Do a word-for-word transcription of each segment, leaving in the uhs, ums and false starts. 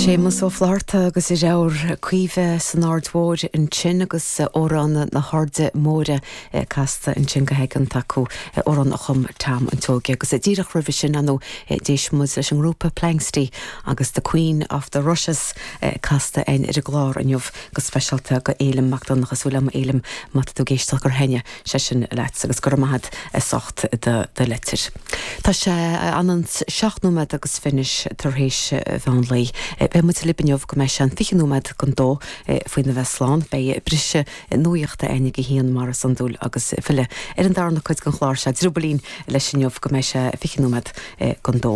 Séamus Ó Flatharta agus a dheartháir Caoimhe san Aird Mhór ansin agus Amhrán na hAirde Móire casta ansin go haigeanta acu amhrán a chum Tom an tSeoighe agus díreach roimhe sin ann d'éist muid leis an ngrúpa Planxty agus the Queen of the Rushes casta againn ar an gclár inniu go speisialta go Éilim Mac Donncha súil agam Éilim má tá tú ag éisteacht gur thaitin sé sin leat agus go raibh maith agat as ucht do do litir. Tá sé an seacht nóiméad agus fiche tar éis mheán lae. Beidh muid libh inniu go mbeidh sé an fiche nóiméad don dó faoina bheith slán, beidh briseadh nuachta againn ag a haon mar is iondúil agus filleadh ar an darna cuid den chlár seo driobaillín leis inniu go mbeidh sé fiche nóiméad don dó.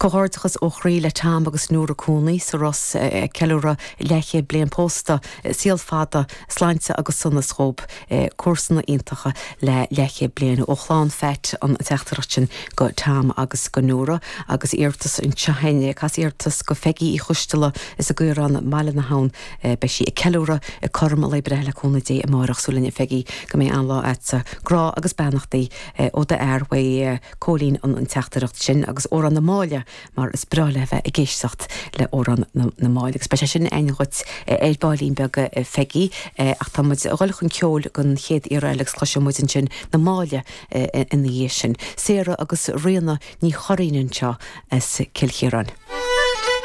Comhghairdeachas ó chroí le Tom agus Nóra Cooney sa Ros ceiliúradh leathchéad bliain pósta saol fada sláinte agus sonas dhóibh comharsana iontacha le leathchéad bliain ó chlann Phat an teachtaireacht sin go Tom agus go Nóra agus iarratas anseo cas iarratas go Peggy Uí Choisteala is i gCaorán Baile na hAbhann beidh sí ag ceiliúradh ag cothrom a lae breithe le cúnamh Dé amárach súil linn a Pheggy go mbeidh an-lá agatsa grá agus beannachtaí ó d'fhear uaidh Cóilín an an teachtaireacht sin agus Amhrán na Máille mar is breá léi bheith ag éisteacht le Amhrán na, na Máille agus beidh sé sin againn dhuit ar baillín beag Pheggy ach tá muid ag dul chun ceoil don chéad iarraidh agus cloisfidh muid ansin na Máille ina dhiaidh sin. Sarah agus Ríona Ní Churraoin anseo as Cill Chiaráin.